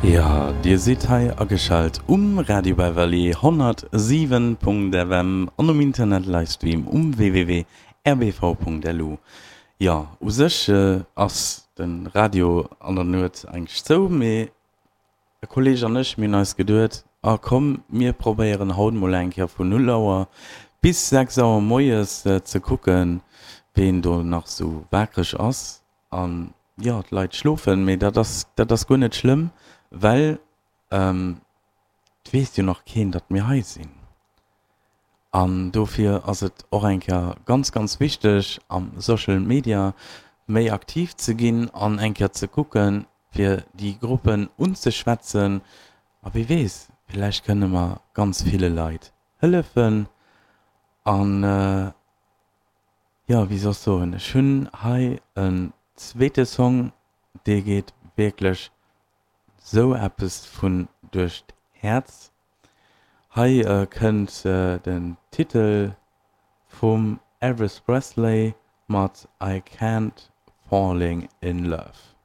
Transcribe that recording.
Jo, dir sidd hei ageschalt um Radio Beverly 107.fm an um Internet Livestream um www.rbv.lu. Jo, u sech ass de Radio an der Nuet eigentlech zou, mee e Kolleg an ech, mir hunn eis geduet, ah komm, mir probéieren haut mol eng Kéier vun 0 Auer bis 6 Auer moies ze kucken, ween do nach sou waakreg ass. An jo, d'Leit schlofen, mee dat ass, dat ass guer net schlëmm, well et weess jo nach keen, datt mir hei sinn. An dofir ass et och eng Kéier ganz, ganz wichteg, am Social Media méi aktiv ze ginn an eng Kéier ze kucken, fir déi Gruppen unzeschwätzen. A wie weess, villäicht kënne mer ganz ville Leit hëllefen. An jo, wéi soll ech soen, ech hunn hei en zweete Song, dee geet wierklech sou eppes vun duerch d'Häerz. Hei kënnt den Titel vum Elvis Presley mat I Can't Falling In Love.